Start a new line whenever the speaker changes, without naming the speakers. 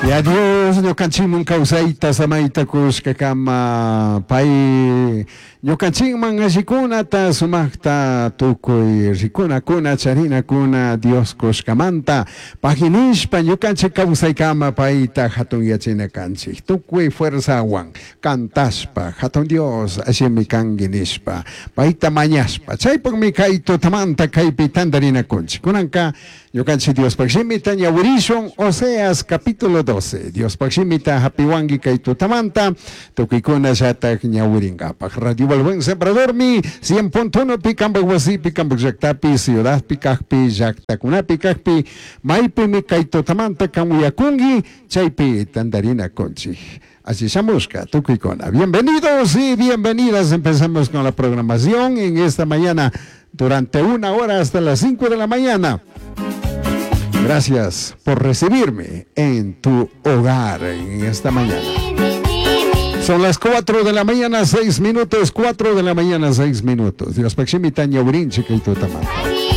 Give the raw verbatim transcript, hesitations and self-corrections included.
Ya Dios ñukanchikman kawsayta samayta kushkakama pay ñukanchikman allikunata sumakta tukuy rikunakuna charinakuna Dios kushkamanta paginishpa ñukanchik kawsaykama payta hatun yachina kanchik tukuy fuerzawan cantashpa hatun Dios allimi kanki nishpa payta mañashpa chaypukmi kay tutamanta kaypi tantarinakunchik kunanka ñukanchik Diospaq shimita ñawirishun Oseas capítulo doce Diospaq shimita hapiwanki kay tutamanta tukuykuna llatak ñawirinkapaq Radio El Buen Sembradormi cien punto uno pi kanpak wasipi kanpak llaktapi ciudadpi kakpi llaktakunapi kakpi maypimi kay tutamanta kan uyakunki chaypi tantarinakunchik. Así shamushka, tukuykuna. Bienvenidos y bienvenidas. Empezamos con la programación en esta mañana durante una hora hasta las cinco de la mañana. Gracias por recibirme en tu hogar en esta mañana. Son las cuatro de la mañana, seis minutos, cuatro de la mañana, seis minutos. Dios Paximita, Ñaurinchi, kay tutamanta.